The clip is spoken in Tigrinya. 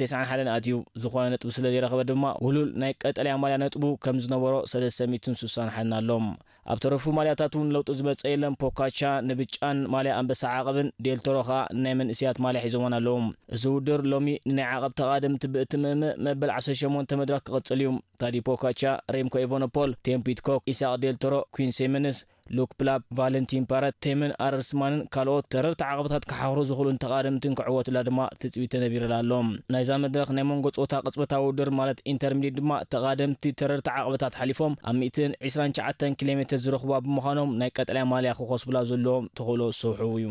ተስዓን ሓደን ኣትዩ፣ ዝኾነ ነጥቢ ስለ ዘይረኸበ ድማ ውሉል ናይ ቀጠልያ ማልያ ነጥቡ ከም ዝነበሮ ሰለስተ ሚእትን ስሳን ሓደን ኣሎ። ኣብ ተረፉ ማልያታት እውን ለውጢ ዝመጸ የለን። ፖካቻ ንብጫን ማልያ ኣንበሳ ዓቐብን፣ ዴልቶሮ ኸኣ ናይ መንእስያት ማልያ ሒዞማን ኣለዉ። እዚ ውድድር ሎሚ ንናይ ዓቐብ ተቓደምቲ ብእትምእምእ መበል ዓሰርተ ሸሞንተ መድረኽ ክቕጽል እዩ። ታዲ ፖካቻ፣ ሬምኮ ኤቨኖፖል፣ ቴም ፒትኮክ፣ ኢሳቕ ዴልቶሮ፣ ኩን ሴመንስ፣ ሉክ ፕላፕ፣ ቫለንቲን ፓረት፣ ቴምን ኣረርስማንን ካልኦት ተረርቲ ዓቐብታት ክሓኽሩ ዝኽእሉን ተቓደምትን ክዕወቱላ ድማ ትጽቢት ተነቢሩላ ኣሎ። ናይዛ መድረኽ ናይ መንጎ ጾታ ቅጽበታዊ ውድድር ማለት ኢንተርሚዲየት ድማ ተቓደምቲ ተረርቲ ዓቐብታት ሓሊፎም ኣብ ሚእትን ዕስራን ትሽዓተን ኪሎ ሜትር ዝረኽቡዋ ብምዃኖም ናይ ቀጠልያ ማልያ ክኸስቡላ ዘለዎም ተኽእሎ ስሑው እዩ።